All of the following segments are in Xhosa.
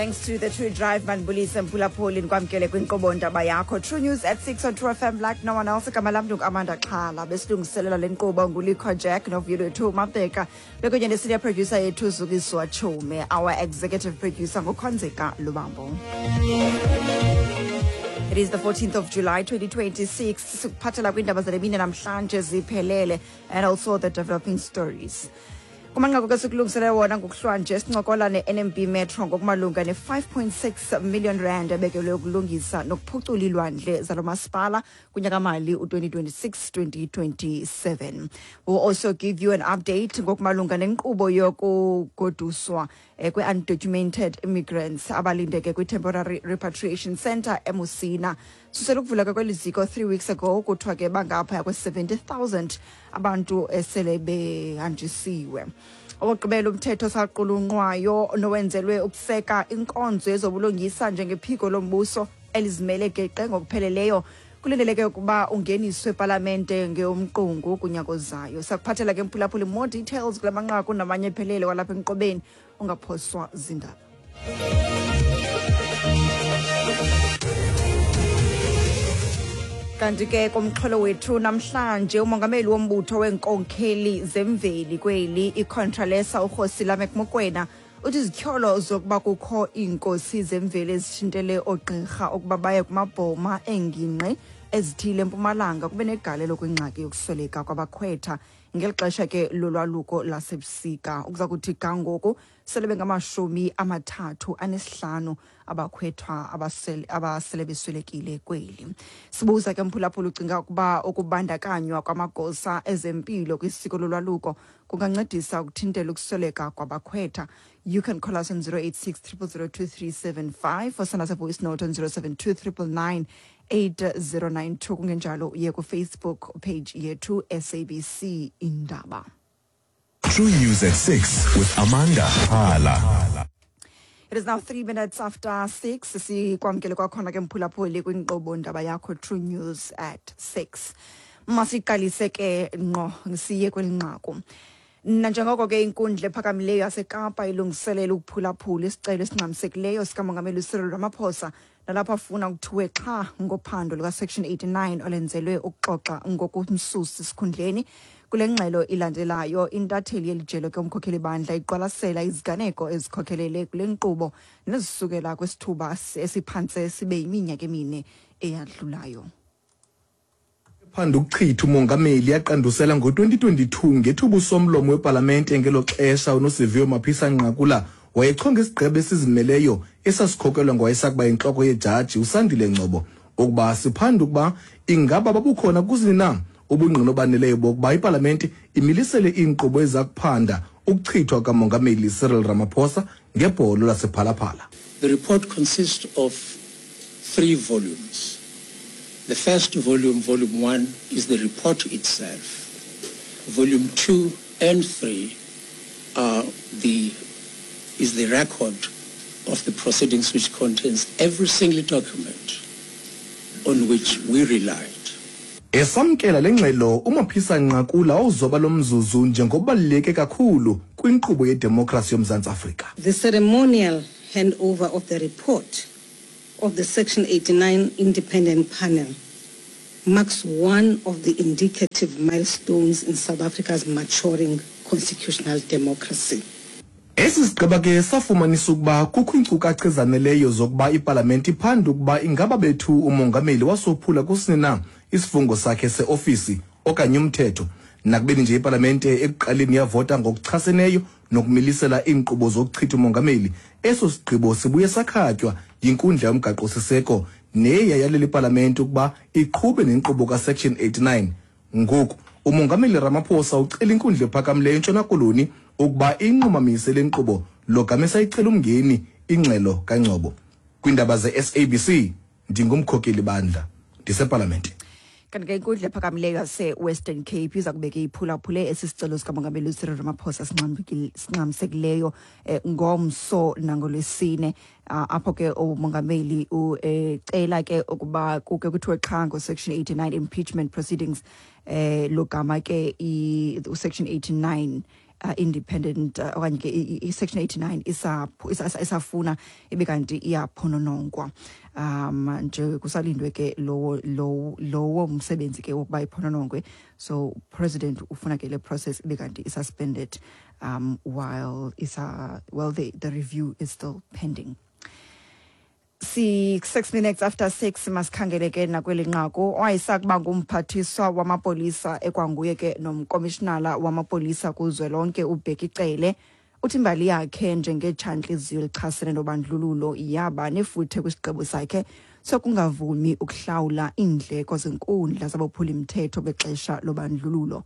Thanks to the True Drive mandibulise mphulaphuli ndikwamkele kwinkqubo ndaba yakho True News at 6 on True FM like no one else. Igama lam ndinguAmanda Xhala. Besilungiselela le nkqubo nguLikho Jack noVuyolwethu Mabheka bekunye ne-senior producer yethu Zukiswa Chume. Our executive producer nguKhonzeka Lubambo. It is the 14th of July 2026. Sikuphathela kwiindaba zale mini namhlanje ziphelele and also the developing stories. Kumanqaku ke sikulungiselele wona ngokuhlwanje, sincokola ne-NMB Metro ngokumalunga ne-5.6 million rand ebekelwe ukulungisa nokuphucula iilwandle zalo masipala kunyakamali u-2026-2027. We'll also give you an update ngokumalunga nenkqubo yokugoduswa kwe-undocumented immigrants abalindeke kwi-temporary repatriation center eMusina. Susela ukuvuleka kweli ziko 3 weeks ago, kuthiwa ke bangaphaya kwe-70,000 abantu esele behanjisiwe. Owokugqibela umthetho osaqulunqwayo nowenzelwe ukuseka inkonzo yezobulungisa njengephiko lombuso elizimele geqe ngokupheleleyo kulindeleke ukuba ungeniswe epalamente ngeyomqungu kunyaka ozayo. Sakuphathela ke mphulaphuli more details kula manqaku namanye ephelele kwalapha enkqubeni, ungaphoswa zindaba. Kanti ke kumxholo wethu namhlanje, umongameli wombutho weenkonkheli zemveli kweli iContralesa uKgosi Lameck Mokwena uthi izityholo zokuba kukho iinkosi zemveli ezithintele oogqirha ukuba baye kumabhoma eengingqi ezithile eMpumalanga kube negalelo kwingxaki yokusweleka kwabakhwetha ngeli xesha ke lolwaluko lasebusika. Ukuza kuthi ga ngoku sele bengamashumi 35 abakhwethwa abasele beswelekile kweli. Sibuza ke mphulaphula, ucinga ukuba ukubandakanywa kwamagosa ezempilo kwisiko lolwaluko kungancedisa ukuthintela ukusweleka kwabakhwetha? You can call us on 086 0002375 or send us a voice note on 072 999 8092. Kungenjalo uye kufacebook page yethu, SABC Indaba. True News at 6 with Amanda Hala. It is now 3 minutes after 6. Sikwamkele kwakhona ke mphulaphuli kwinkqubo ndaba yakho True News at 6. Masiqalise ke ngqo siye kweli nqaku. Nanjengoko ke inkundla ephakamileyo yaseKapa ilungiselela ukuphulaphula isicelo esingxamisekileyo sikamongameli Cyril Ramaphosa, nalapho afuna ukuthiwe xha ngophando luka-Section 89 olenzelwe ukuxoxa ngokumsusa esikhundleni. Kule ngxelo ilandelayo, intatheli yeli jelo ke umkhokheli bandla iqwalasela iziganeko ezikhokhelele kule nkqubo nezisukela kwisithuba esiphantse sibe yiminyaka 4 eyadlulayo. Phanda ukuchitha umongameli yaqandusela ngo-2022 ngethuba usomlomo wepalamente ngelo xesha uNosiviwe Mapisa Nqakula wayechonga isigqeba esizimeleyo esasikhokelwa ngowayesakuba yintloko yejaji uSandile Ngcobo ukuba siphande ukuba ingaba babukhona kusini na ubungqina obaneleyo bokuba ipalamente imilisele iinkqubo eza kuphanda ukuchithwa kukamongameli Cyril Ramaphosa ngebholo lasePhalaphala. The report consists of three volumes. The first volume, volume 1, is the report itself. Volume 2 and 3 are the is the record of the proceedings, which contains every single document on which we relied. Esamkela le ngxelo, uMaphisa Nqakula wawuzoba lo mzuzu njengobaluleke kakhulu kwinkqubo yedemokhrasi yoMzantsi Afrika. The ceremonial handover of the report of the Section 89 Independent Panel marks one of the indicative milestones in South Africa's maturing constitutional democracy. Esi sigqeba ke safumanisa ukuba kukho iinkcukacha ezaneleyo zokuba ipalamente iphande ukuba ingaba bethu umongameli wasophula kusini na isifungo sakhe seofisi okanye umthetho. Nakubeni nje ipalamente ekuqaleni yavota ngokuchaseneyo nokumilisela iinkqubo zokuchitha umongameli, eso sigqibo sibuye sakhatywa yinkundla yomgaqo-siseko neye yayalela ipalamente ukuba iqhube nenkqubo kaSection 89. Ngoku umongameli Ramaphosa ucela inkundla ephakamileyo eNtshona Koloni ukuba inqumamise le nkqubo logama esayicela umngeni ingxelo kaNgcobo. Kwiindaba ze-SABC, ndingumkhokeli bandla ndisepalamente. Kanti ke inkundla ephakamileyo yaseWestern Cape iza kubeka iphulaphule esi sicelo sikamongameli uCyril Ramaphosa singxamisekileyo ngomso nangolwesine, apho ke umongameli ucela ke ukuba kuke kuthiwe xha ngo-Section 89 impeachment proceedings, logama ke uSection 89. Independent okanye ke i-Section 89 isafuna ibe kanti iyaphononongwa, nje kusalindwe ke lowo msebenzi ke wokuba iphononongwe. So president ufuna ke le process ibe kanti i-suspended while isa well the review is still pending. 6:06, masikhangele ke nakweli nqaku. Owayesakuba ngumphathiswa wamapolisa ekwanguye ke nomkomishinala wamapolisa kuzwelonke uBheki Cele uthi imbali yakhe njengetshantliziyo elichasene nobandlululo yaba nefuthe kwisigqibo sakhe sokungavumi ukuhlawula iindleko zenkundla zabophulimthetho bexesha lobandlululo.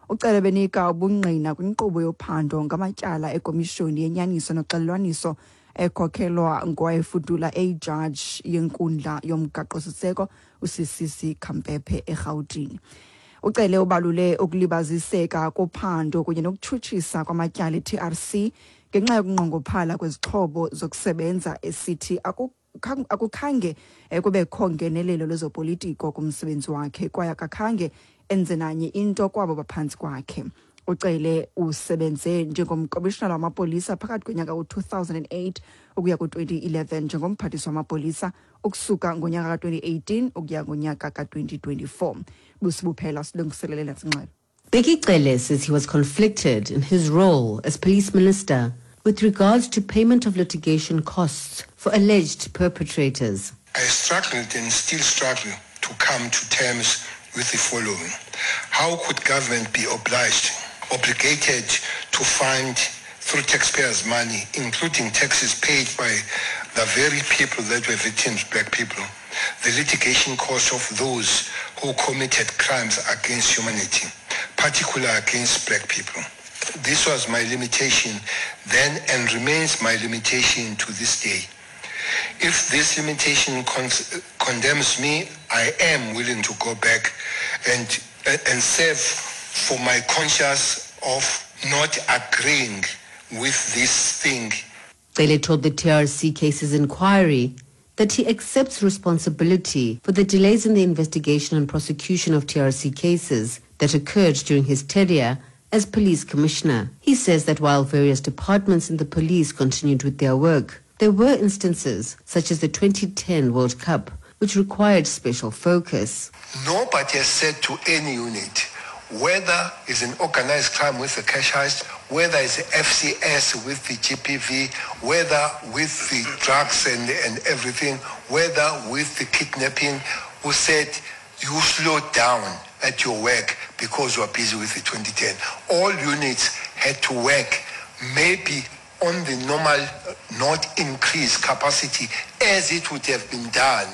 UCele benika ubungqina kwinkqubo yophando ngamatyala ekomishoni yenyaniso noxelelwaniso ekhokhelwa ngowayefudula eyijaji yenkundla yomgaqo-siseko uCCC Khampepe eRhawutini. Ucele ubalule ukulibaziseka kophando kunye nokutshutshisa kwamatyala e-TRC ngenxa yokunqongophala kwezixhobo zokusebenza, esithi akukhange kubekho ngenelelo lwezopolitiko kumsebenzi wakhe kwaye akakhange enze nanye into kwabo baphantsi kwakhe. Ucele usebenze njengomkomishinala wamapolisa phakathi konyaka u-2008 ukuya ku-2011, njengomphathiswa wamapolisa ukusuka ngonyaka ka-2018 ukuya ngonyaka ka-2024. Busibuphela silungiselele nasingxelo. Bheki Cele says he was conflicted in his role as police minister with regards to payment of litigation costs for alleged perpetrators. I struggled and still struggle to come to terms with the following. How could government be obligated to fund through taxpayers' money, including taxes paid by the very people that were victims, black people, the litigation costs of those who committed crimes against humanity, particularly against black people? This was my limitation then and remains my limitation to this day. If this limitation condemns me, I am willing to go back and serve for my conscience of not agreeing with this thing. Cele told the TRC cases inquiry that he accepts responsibility for the delays in the investigation and prosecution of TRC cases that occurred during his tenure as police commissioner. He says that while various departments in the police continued with their work, there were instances, such as the 2010 World Cup, which required special focus. Nobody has said to any unit, whether it's an organized crime with the cash heist, whether it's FCS with the GBV, whether with the drugs and everything, whether with the kidnapping, who said you slow down at your work because you are busy with the 2010. All units had to work maybe on the normal, not increased capacity as it would have been done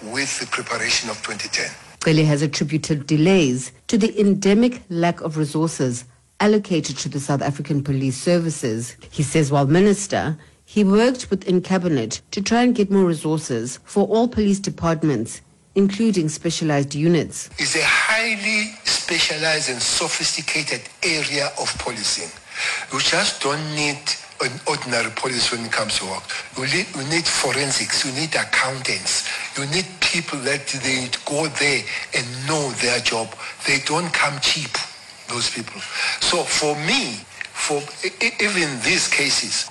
with the preparation of 2010. Cele has attributed delays to the endemic lack of resources allocated to the South African Police Services. He says while minister, he worked within cabinet to try and get more resources for all police departments, including specialized units. It's a highly specialized and sophisticated area of policing. You just don't need an ordinary police when it comes to work. You need forensics, you need accountants, you need people that they go there and know their job. They don't come cheap, those people. So for me, for even these cases,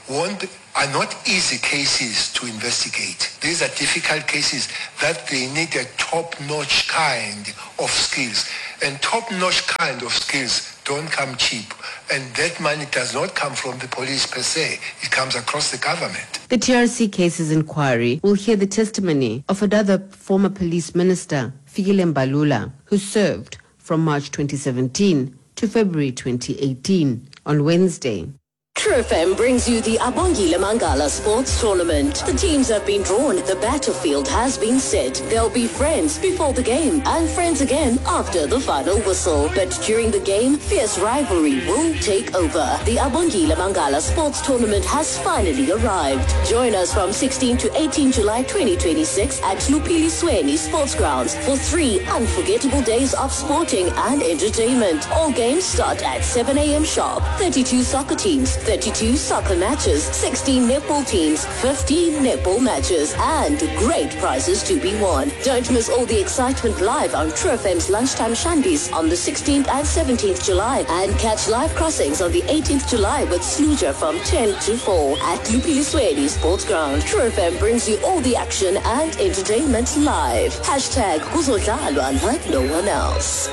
are not easy cases to investigate. These are difficult cases that they need a top-notch kind of skills. And top-notch kind of skills don't come cheap. And that money does not come from the police per se. It comes across the government. The TRC cases inquiry will hear the testimony of another former police minister, Fikile Mbalula, who served from March 2017 to February 2018 on Wednesday. True FM brings you the Abongile Mangala Sports Tournament. The teams have been drawn. The battlefield has been set. They'll be friends before the game and friends again after the final whistle. But during the game, fierce rivalry will take over. The Abongile Mangala Sports Tournament has finally arrived. Join us from 16 to 18 July 2026 at Lupili Sweni Sports Grounds for 3 unforgettable days of sporting and entertainment. All games start at 7 a.m. sharp. 32 soccer teams, 32 32 soccer matches, 16 netball teams, 15 netball matches, and great prizes to be won. Don't miss all the excitement live on True FM's Lunchtime Shandies on the 16th and 17th July, and catch live crossings on the 18th July with Sluja from 10 to 4 at Lupiliswedi Sports Ground. True FM brings you all the action and entertainment live. Hashtag Kuzodlalwa like no one else.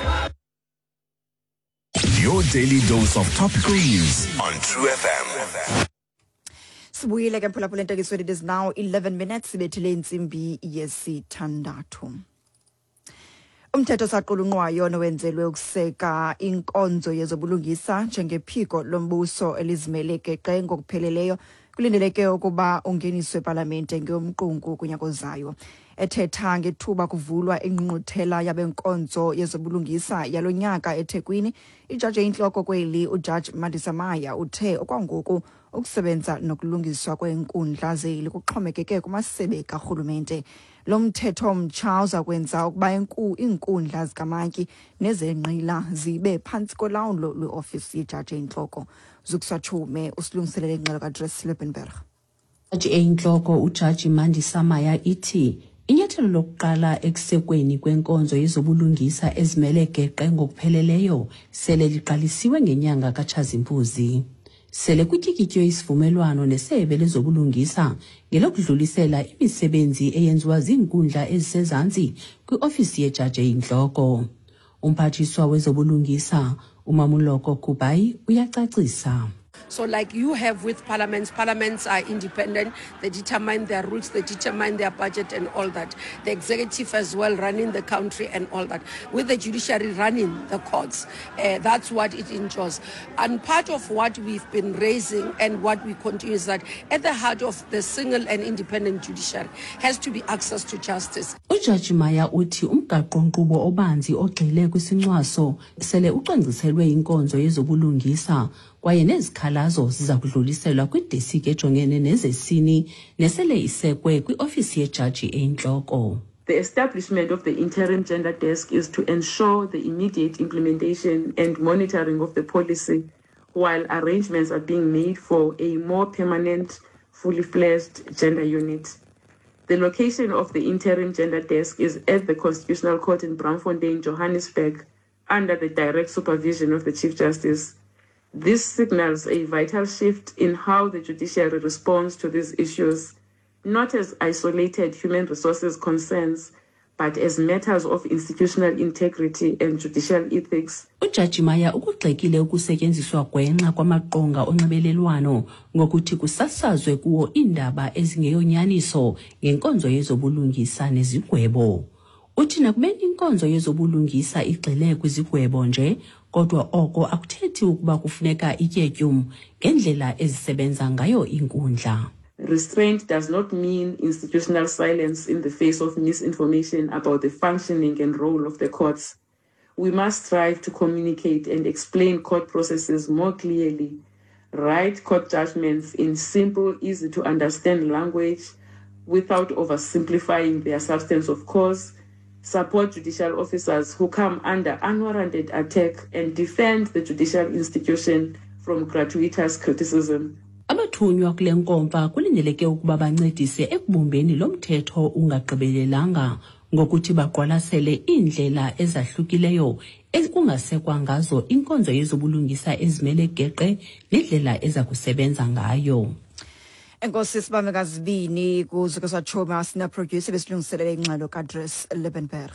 Your daily dose of topical news on True FM. Sibuyile ke, mphulaphula entekisweni. It is now 11 minutes ibethile intsimbi yesithandathu. Umthetho osaqulunqwayo nowenzelwe ukuseka inkonzo yezobulungisa njengephiko lombuso elizimele geqe ngokupheleleyo kulindeleke ukuba ungeniswe epalamente ngeyomqungu kunyaka ozayo. Ethetha ngethuba kuvulwa ingqungquthela yabenkonzo yezobulungisa yalo nyaka eThekwini, ijaji eyintloko kweli uJaji Mandisa Maya uthe okwangoku ukusebenza nokulungiswa kweenkundla zeli kuxhomekeke kumasebe karhulumente. Lo mthetho mtsha uza kwenza ukuba iinkundla zikamantyi nezenqila zibe phantsi kolawulo lweofisi yejaji eyintloko. Zukiswa Tshume usilungiselele ingxelo kaDress Liebenberg. Jaji eyintloko uJaji Mandisa Maya ithi inyathelo lokuqala ekusekweni kwenkonzo yezobulungisa ezimele geqe ngokupheleleyo sele liqalisiwe ngenyanga kaTshazimpuzi. Sele kutyikitywe isivumelwano nesebe lezobulungisa ngelokudlulisela imisebenzi eyenziwa ziinkundla ezisezantsi kwiofisi yejaji eyintloko. Umphathiswa wezobulungisa uMamoloko Kubayi uyacacisa. So, like you have with parliaments, parliaments are independent. They determine their rules, they determine their budget and all that. The executive as well running the country and all that. With the judiciary running the courts, that's what it ensures. And part of what we've been raising and what we continue is that at the heart of the single and independent judiciary has to be access to justice. Ujaji Maya uthi umgaqo-nkqubo obanzi ogxile kwisincwaso sele ucwangciselwe inkonzo yezobulungisa, kwaye nezikhalazo ziza kudluliselwa kwidesika ejongene nezesini nesele isekwe kwiofisi yejaji eyintloko. The establishment of the interim gender desk is to ensure the immediate implementation and monitoring of the policy while arrangements are being made for a more permanent, fully fledged gender unit. The location of the interim gender desk is at the Constitutional Court in Braamfontein, Johannesburg, under the direct supervision of the Chief Justice. This signals a vital shift in how the judiciary responds to these issues, not as isolated human resources concerns, but as matters of institutional integrity and judicial ethics. Ujaji Maya ukugxekile ukusetyenziswa gwenxa kwamaqonga onxibelelwano ngokuthi kusasazwe kuwo iindaba ezingeyonyaniso ngenkonzo yezobulungisa nezigwebo. Uthi nakubeni inkonzo yezobulungisa igxile kwizigwebo nje, kodwa oko akuthethi ukuba kufuneka itye tyum ngendlela ezisebenza ngayo iinkundla. Restraint does not mean institutional silence in the face of misinformation about the functioning and role of the courts. We must strive to communicate and explain court processes more clearly, write court judgments in simple, easy to understand language without oversimplifying their substance, of course, support judicial officers who come under unwarranted attack, and defend the judicial institution from gratuitous criticism. Abathunywa kule nkomfa kulindeleke ukuba bancedise ekubumbeni lo mthetho ungagqibelelanga ngokuthi baqwalasele iindlela ezahlukileyo ekungasekwa ngazo inkonzo yezobulungisa ezimele geqe nendlela eza kusebenza ngayo. Enkosi, sibambe ngazibini kuZukiswa Choma, sina producer besilungiselele ingxelo kaDress Liebenberg.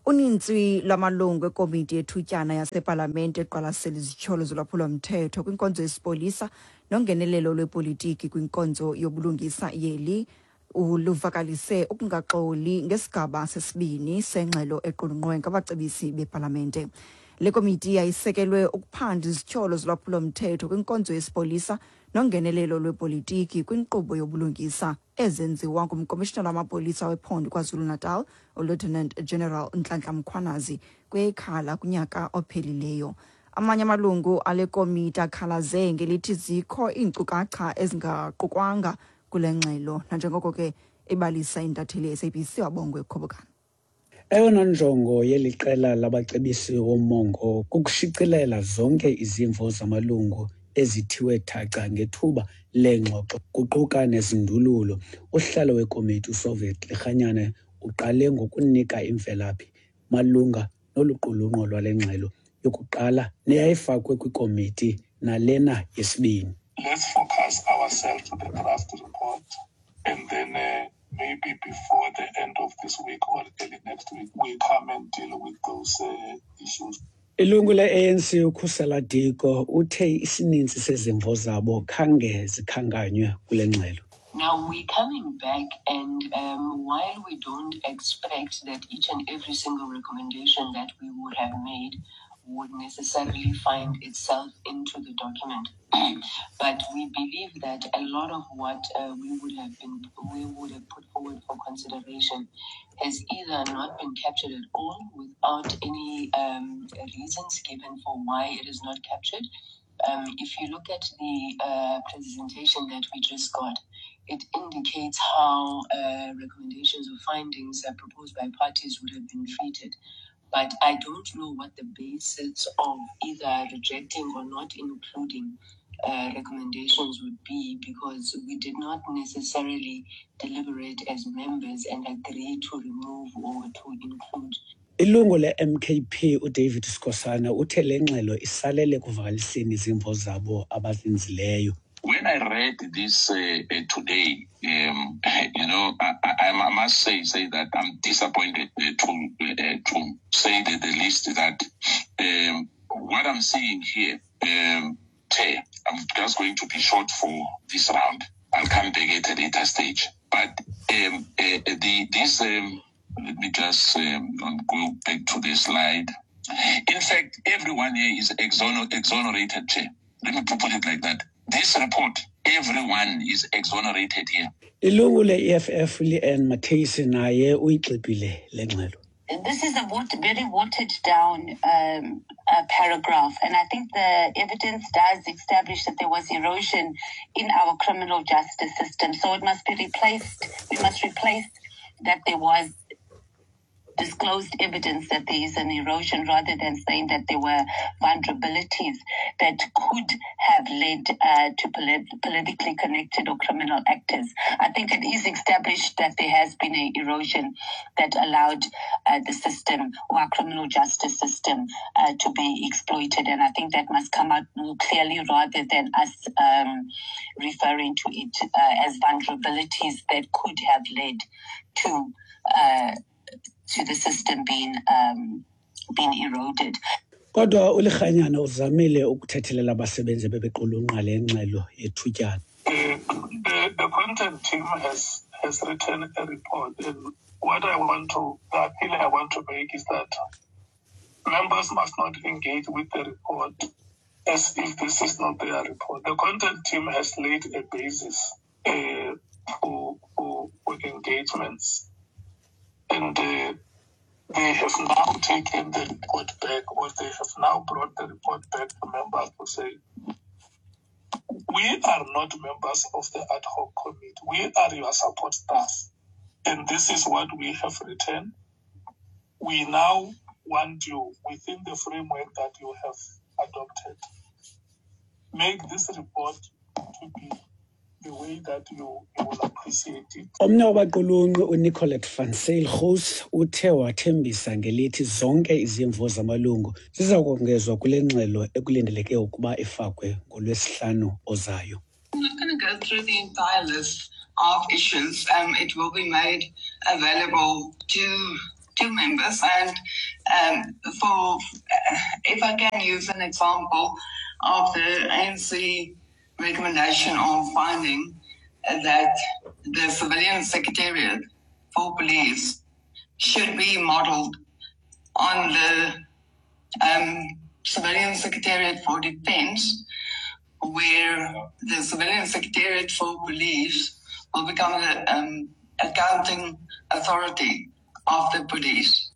Uninzi lwamalungu ekomiti yethutyana yasepalamente eqwalasela izityholo zolwaphulomthetho kwinkonzo yesipolisa nongenelelo lwepolitiki kwinkonzo yobulungisa yeli luvakalise ukungaxoli ngesigaba sesibini sengxelo equlunqwe ngabacebisi bepalamente. Le komiti yayisekelwe ukuphanda izityholo zolwaphulomthetho kwinkonzo yesipolisa nongenelelo lwepolitiki kwinkqubo yobulungisa ezenziwa ngumkomishinala wamapolisa wephondo KwaZulu-Natal uLieutenant General Nhlanhla Mkhwanazi kweyekhala kunyaka ophelileyo. Amanye amalungu ale komiti akhalaze ngelithi zikho iinkcukacha ezingaqukwanga kule ngxelo, nanjengoko ke ebalisa intatheli ye-SABC wabongwe Khobokana. Eyona njongo yeli qela labacebisi womongo kukushicilela zonke izimvo zamalungu. ezithiwe thaca ngethuba leengxoxo kuquka nezindululo. Usihlalo wekomiti uSoviet Lekganyane uqale ngokunika imvelaphi malunga nolu qulunqo lwale ngxelo yokuqala neyayifakwe kwikomiti nalena yesibini. Let's focus ourselves to the draft report and then maybe before the end of this week or early next week we come and deal with those issues. Ilungu le-ANC uKhusela Diko uthe isininzi sezimvo zabo khange zikhankanywe kule ngxelo. Now we're coming back, and while we don't expect that each and every single recommendation that we would have made would necessarily find itself into the document, but we believe that a lot of what we would have put forward for consideration has either not been captured at all without any reasons given for why it is not captured. If you look at the presentation that we just got, it indicates how recommendations or findings that proposed by parties would have been treated. But I don't know what the basis of either rejecting or not including recommendations would be, because we did not necessarily deliberate as members and agree to remove or to include. Ilungu le-MKP uDavid Skosana uthe le ngxelo isalele ekuvakaliseni izimvo zabo abazenzileyo. When I read this today, I must say that I'm disappointed to say the least that what I'm seeing here, Chair, I'm just going to be short for this round. I'll come back at a later stage. But let me just go back to the slide. In fact, everyone here is exonerated, Chair. Let me put it like that. This report, everyone is exonerated here. Ilungu le-EFF Leanne Matthys naye uyigxibile le ngxelo. This is a very watered down paragraph, and I think the evidence does establish that there was erosion in our criminal justice system. So it must be replaced. We must replace that there was disclosed evidence that there is an erosion, rather than saying that there were vulnerabilities that could have led to politically connected or criminal actors. I think it is established that there has been an erosion that allowed the system, or our criminal justice system, to be exploited. And I think that must come out more clearly, rather than us referring to it as vulnerabilities that could have led to the system being eroded. Kodwa uLekganyane uzamile ukuthethelela abasebenzi bebequlunqa le ngxelo yethutyana. The content team has written a report, and what I want to, the appeal I want to make is that members must not engage with the report as if this is not their report. The content team has laid a basis for engagements. And they have now taken the report back, or they have now brought the report back to members to say, we are not members of the ad hoc committee. We are your support staff. And this is what we have written. We now want you, within the framework that you have adopted, make this report to be the way that you will appreciate it. Omnye wabaqulunqi uNicolette van Zyl Gous uthe wathembisa ngelithi zonke izimvo zamalungu ziza kongezwa kule ngxelo ekulindeleke ukuba ifakwe ngoLwesihlanu ozayo. I'm not going to go through the entire list of issues. It will be made available to members, and for if I can use an example of the ANC recommendation on finding that the civilian secretariat for police should be modeled on the civilian secretariat for defense, where the civilian secretariat for police will become the accounting authority of the police.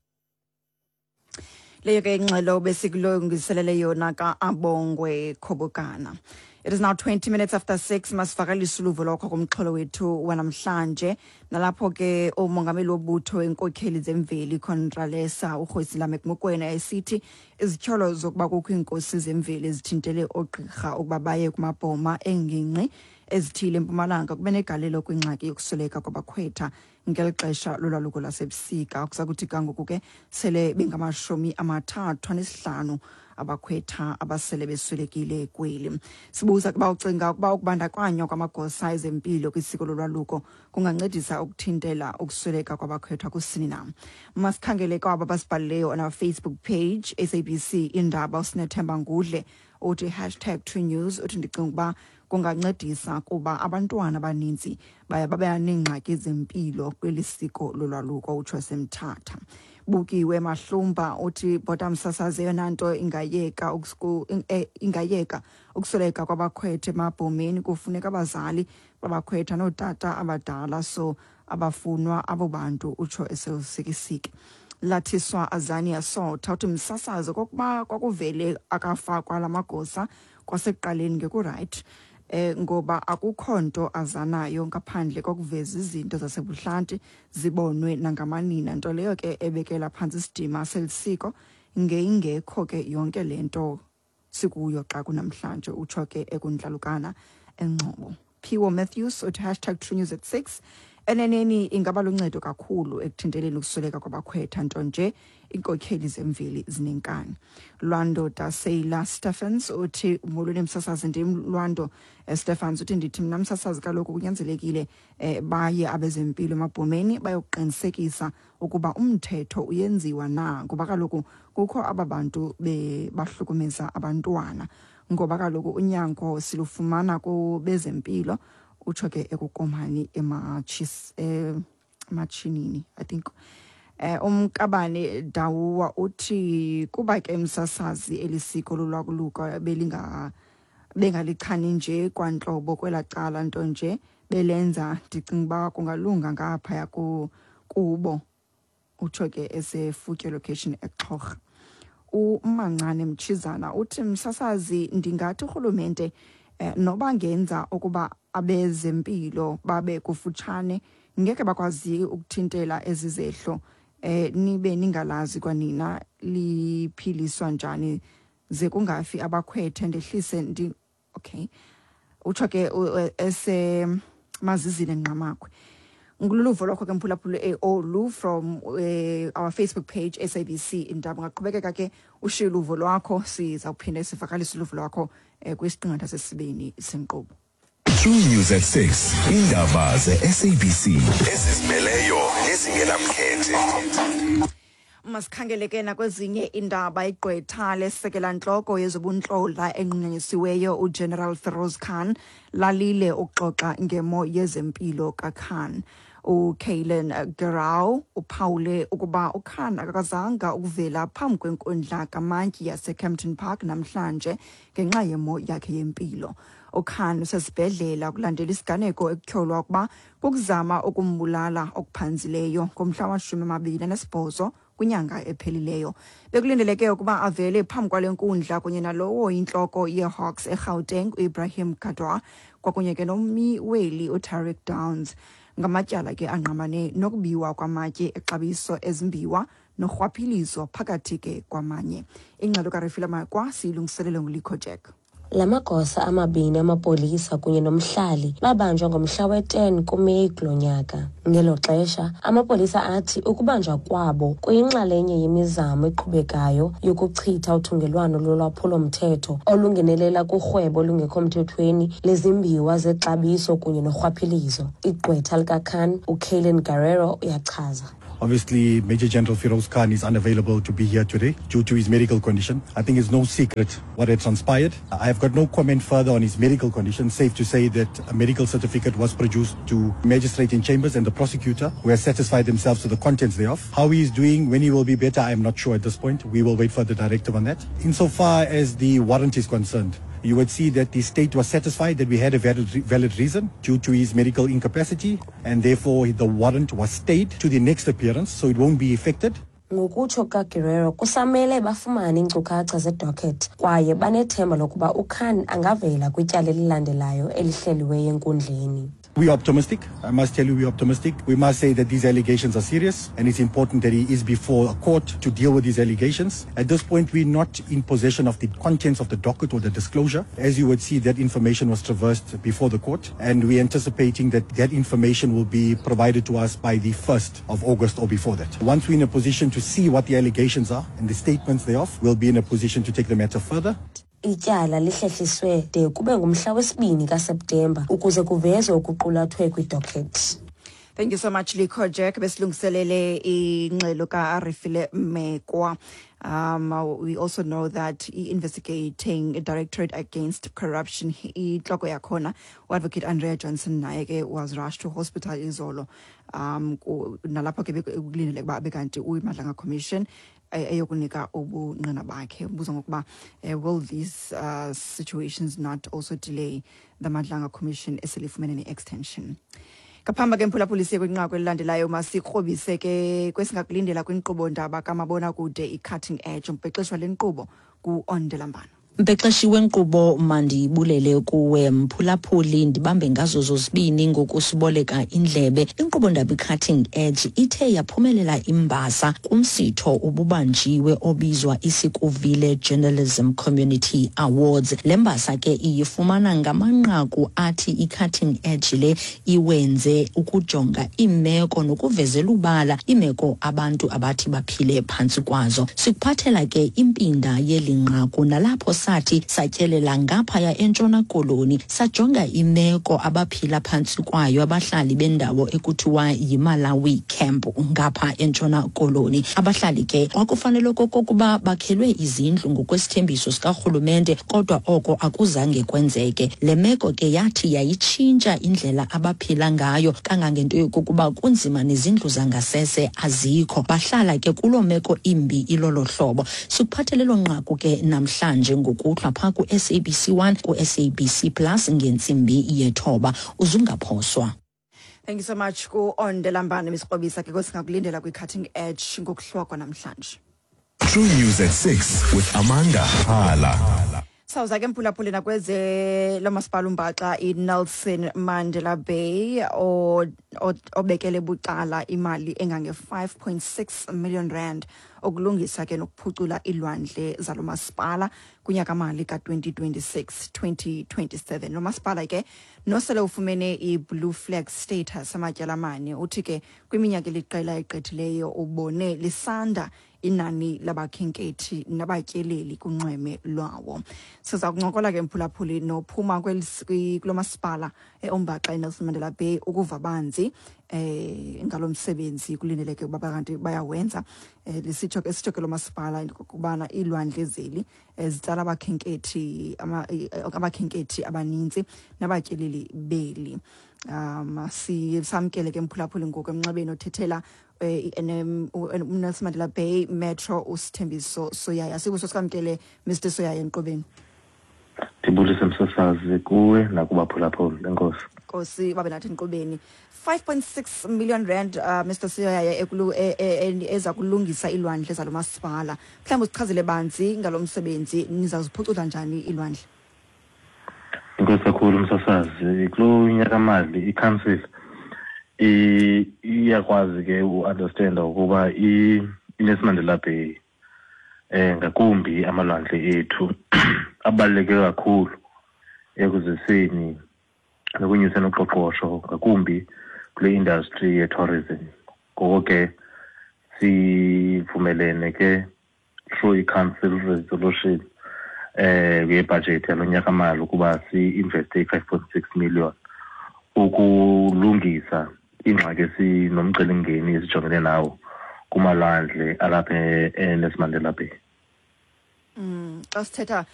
Leyo ke ingxelo besikulungiselele yona ka-Abongwe Khobokana. It is now 20 minutes after 6. Masivakalise uluvo lwakho kumxholo wethu wanamhlanje, nalapho ke umongameli wobutho wenkokheli zemveli Contralesa uKgosi Mokoena esithi izityholo zokuba kukho iinkosi zemveli ezithintele oogqirha ukuba baye kumabhoma engingqi ezithile eMpumalanga kube negalelo kwingxaki yokusweleka kwabakhwetha ngeli xesha lolwaluko lwasebusika. Kuza kuthi kangoku ke sele bengama-35 abakhwetha abasele beswelekile kweli. Sibuza kuba ucinga ukuba ukubandakanywa kwamagosa ezempilo kwisiko lolwaluko kungancedisa ukuthintela ukusweleka kwabakhwetha kusini na. Masikhangele kwabo basibhalileyo on our Facebook page SABC Indaba. Usinethemba Ngudle uthi hashtag True News, uthi ndicinga ukuba kungancedisa kuba abantwana abaninzi baye babe neengxaki zempilo kweli siko lolwaluko, utsho semthatha. Bukiwe Mahlumba uthi bhota msasazi, eyona nto ingayeka ukusweleka kwabakhwetha emabhomeni kufuneka abazali babakhwetha nootata abadala, so abafunwa abo bantu, utsho esewusikisiki. Lathiswa Azania Sotha uthi msasazi, kokuba kwakuvele akafakwa la magosa kwasekuqaleni ngekurayithi, ngoba akukho nto azanayo ngaphandle kokuveza izinto zasebuhlanti zibonwe nangamanina, nto leyo ke ebekela phantsi isidima selisiko, ngeyingekho ke yonke le nto sikuyo xa kunamhlanje, utsho ke ekuntlalukana engcobo. Phiwo Matthews uthi hashtag True News at 6, eneneni ingaba luncedo kakhulu ekuthinteleni ukusweleka kwabakhwetha, nto nje iinkokheli zemveli zinenkani. Lwando Daseyila Stephens uthi molweni msasazi, ndim Lwando Stephens. Uthi ndithi mna msasazi, kaloku kunyanzelekile baye abezempilo emabhomeni bayokuqinisekisa ukuba umthetho uyenziwa na, ngoba kaloku kukho aba bantu bahlukumeza abantwana, ngoba kaloku unyango silufumana kubezempilo, utsho ke ekukomani ematshinini I think. Umkabane Dawuwa uthi kuba ke msasazi elisiko lolwaluko belinga bengalichani nje kwantlobo kwelaa cala, nto nje belenza, ndicinga uba kungalunga ngaphaya kubo, utsho ke esefutye location eXhorha. Umancane Mtshizana uthi msasazi, ndingathi urhulumente noba ngenza ukuba abezempilo babe kufutshane, ngeke bakwazi ukuthintela ezi zehlo, nibe ningalazi kwanina liphiliswa njani ze kungafi abakhwethe, ndehlise ndi okay, utsho ke ese mazizile Ngqamakhwe. Ngululuvo lwakho ke mphulaphula olu from our Facebook page SABC Indaba. Ungaqhubekeka ke ushiye uluvo lwakho, siza kuphinda sivakalise uluvo lwakho kwisiqingatha sesibini senkqubo. True News at 6. Indaba ze-SABC ezizimeleyo nezingenamkhethe. Masikhangele ke nakwezinye indaba. Igqwetha lesekela ntloko yezobuntlola enqunyanyisiweyo uGeneral Feroz Khan lalile ukuxoxa ngemo yezempilo kaKhan. uKaylen Gerau uphawule ukuba uKhan akakazanga ukuvela phambi kwenkundla kamantyi yaseKempton Park namhlanje ngenxa yemo yakhe yempilo. uKhan usesibhedlela kulandela isiganeko ekutyholwa ukuba kukuzama ukumbulala okuphanzileyo ngomhla wama-28 kwinyanga ephelileyo. Bekulindeleke ukuba avele phambi kwale nkundla kunye nalowo intloko yeHawks eGauteng uIbrahim Kadwa kwakunye ke nommi weli uTariq Downs, ngamatyala ke angqamane nokubiwa kwamatye exabiso ezimbiwa norhwaphilizo phakathi ke kwamanye. Ingxelo kaRefila Makwa siyilungiselele nguLikho Jack. La magosa amabini amapolisa kunye nomhlali babanjwa ngomhla we-10 kuMeyi kulo nyaka. Ngelo xesha, amapolisa athi ukubanjwa kwabo kuyinxalenye yemizamo eqhubekayo yokuchitha uthungelwano lolwaphulo-mthetho olungenelela kurhwebo olungekho mthethweni lezimbiwa zexabiso kunye norhwaphilizo. Igqwetha likaKhan, uKaylen Guerrero, uyachaza. Obviously, Major General Feroz Khan is unavailable to be here today due to his medical condition. I think it's no secret what had transpired. I have got no comment further on his medical condition. Safe to say that a medical certificate was produced to magistrate in chambers and the prosecutor, who has satisfied themselves to the contents thereof. How he is doing, when he will be better, I am not sure at this point. We will wait for the directive on that. Insofar as the warrant is concerned, you would see that the state was satisfied that we had a valid reason due to his medical incapacity, and therefore the warrant was stayed to the next appearance, so it won't be affected. Ngokutsho kukaGuerrero, kusamele bafumane iinkcukacha zedocket kwaye banethemba lokuba uKhan angavela kwityala elilandelayo elihleliweyo enkundleni. We are optimistic. I must tell you, we are optimistic. We must say that these allegations are serious, and it's important that he is before a court to deal with these allegations. At this point, we're not in possession of the contents of the docket or the disclosure. As you would see, that information was traversed before the court, and we're anticipating that that information will be provided to us by the 1st of August or before that. Once we're in a position to see what the allegations are and the statements thereof, we'll be in a position to take the matter further. Ityala lihlehliswe de kube ngumhla wesibini kaSeptemba ukuze kuvezwe okuqulathwe kwidocket. Thank you so much, Likho Jack. Besilungiselele ingxelo ka-Arifile Mekwa. We also know that i-Investigating Directorate Against Corruption, intloko yakhona, uAdvocate Andrea Johnson, naye ke was rushed to hospital izolo. Nalapho ke bekulindeleke uba abe kanti uyiMadlanga Commission eyokunika ubungqina bakhe. Ubuza ngokuba will these situations not also delay the Madlanga Commission eselifumene ne-extension? Ngaphambi ke, mphulaphuli, siye kwinqaku elilandelayo, masikrobise ke kwesingakulindela kwinkqubo ndaba kamabonakude i-Cutting Edge. Umbhexeshwa le nkqubo ku-Ondelambana. Mbhexeshi wenkqubo, mandibulele kuwe, mphulaphuli, ndibambe ngazo zozibini ngokusiboleka indlebe. Inkqubo ndaba i-Cutting Edge ithe yaphumelela imbasa kumsitho ububanjiwe obizwa iSikuvile Journalism Community Awards. Le mbasa ke iyifumana ngamanqaku athi i-Cutting Edge le iwenze ukujonga iimeko nokuvezela ubala iimeko abantu abathi baphile phantsi kwazo. Sikuphathela ke impinda yeli nqaku, nalapho sathi satyelela ngaphaya eNtshona Koloni, sajonga imeko abaphila phantsi kwayo abahlali bendawo ekuthiwa yiMalawi Camp ngapha eNtshona Koloni. Abahlali ke kwakufanele okokuba bakhelwe izindlu ngokwesithembiso sikarhulumente, kodwa oko akuzange kwenzeke. Le meko ke yathi yayitshintsha indlela abaphila ngayo kangangento yokokuba kunzima, nezindlu zangasese azikho. Bahlala ke kuloo meko imbi ilolo hlobo. Sikuphathele lo nqaku ke namhlanje ngokuhlwa phaa ku-SABC 1, ku-SABC Plus, ngentsimbi yethoba. Uzungaphoswa. Thank you so much ku-Ondelambane, besikrobisa ke kwesingakulindela kwi-Cutting Edge ngokuhlwa kwanamhlanje. True News at 6 with Amanda Hala. Sawuza ke, mphulaphuli, nakweze lomasipala umbaxa iNelson Mandela Bay obekele bucala imali engange-5.6 million rand ukulungisa ke nokuphucula iilwandle zalo masipala kunyaka-mali ka-2026 2027. Lo masipala ke nosele ufumene i-blue flag status amatyala amane, uthi ke kwiminyaka eliqela egqithileyo ubone lisanda inani labakhenkethi nabatyeleli kunxweme lwawo. Siza kuncokola ke, mphulaphuli, nophuma kulo masipala ombaxa iNelson Mandela Bay ukuva banzi ngalo msebenzi kulindeleke ukuba kanti bayawenza. Lisitsho ke, sitsho ke lo masipala ukubana iilwandle zeli zitsala abakhenkethi abaninzi nabatyeleli beli. Sisamkele ke, mphulaphuli, ngoku emnxebeni othethela i-NM, uNelson Mandela Bay Metro, uSithembiso Soyaya. Sibuso sikamkele, Mr Soyaya, enkqubeni. Ndibulise, msasazi, kuwe nakubaphulaphuli. Enkosi. Nkosi babe nathi enkqubeni. 5.6 million rand, Mr Soyaya, eza kulungisa iilwandle zalo masipala. Mhlawumbi usichazele banzi ngalo msebenzi, nizawuziphucula njani iilwandle? Enkosi kakhulu, msasazi. Kulo nyakamali i-council iyakwazi ke u-understanda ukuba iNelson Mandela Bay, ngakumbi amalwandle ethu, abaluleke kakhulu ekuziseni nokunyuseni uqoqosho, ngakumbi kule industry ye-tourism. Ngoko ke sivumelene ke through i-council resolution yebhajethi yalo nyaka mali ukuba si-investe i-5.6 million ukulungisa ingxaki esinomcelimngeni esijongene nawo kumalwandle alapha eNelson Mandela Bay. Xa sithetha